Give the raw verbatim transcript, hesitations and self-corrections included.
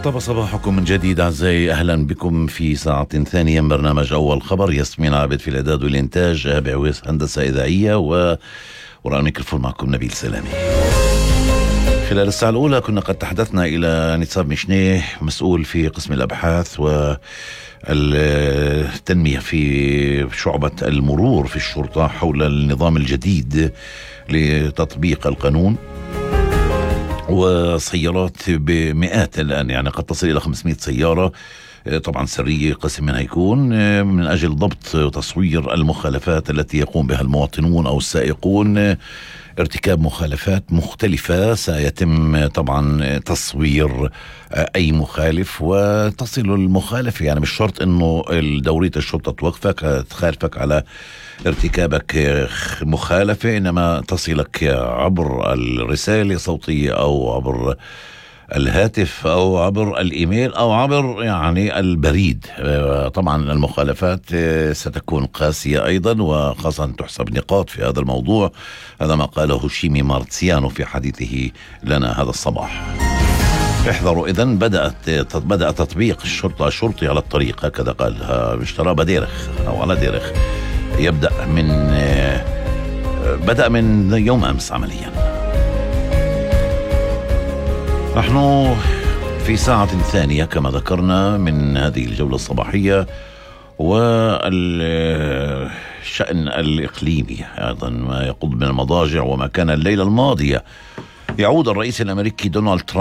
طاب صباحكم من جديد أعزائي، أهلا بكم في ساعة ثانية من برنامج أول خبر. ياسمين عابد في الإعداد والإنتاج، أبي عويس هندسة إذاعية، و وراء الميكروفون معكم نبيل سلامي. خلال الساعة الأولى كنا قد تحدثنا إلى نصاب مشنيه، مسؤول في قسم الأبحاث والتنمية في شعبة المرور في الشرطة، حول النظام الجديد لتطبيق القانون، وسيارات بمئات الآن، يعني قد تصل إلى خمسمائة سيارة طبعا سرية، قسم منها يكون من أجل ضبط وتصوير المخالفات التي يقوم بها المواطنون أو السائقون. ارتكاب مخالفات مختلفة سيتم طبعا تصوير أي مخالف، وتصل المخالف، يعني مش شرط أنه دورية الشرطة توقفك تخالفك على ارتكابك مخالفة، إنما تصلك عبر الرسالة الصوتية أو عبر الهاتف أو عبر الإيميل أو عبر يعني البريد. طبعا المخالفات ستكون قاسية أيضا، وخاصة تحسب نقاط في هذا الموضوع. هذا ما قاله شيمي مارتسيانو في حديثه لنا هذا الصباح. احذروا إذن، بدأت بدأ تطبيق الشرطة الشرطي على الطريق، هكذا قالها اشترى بديرخ أو على ديرخ. يبدأ من بدأ من يوم أمس عمليا. نحن في ساعة ثانية كما ذكرنا من هذه الجولة الصباحية، والشأن الإقليمي أيضا ما يقود من المضاجع وما كان الليلة الماضية. يعود الرئيس الأمريكي دونالد ترامب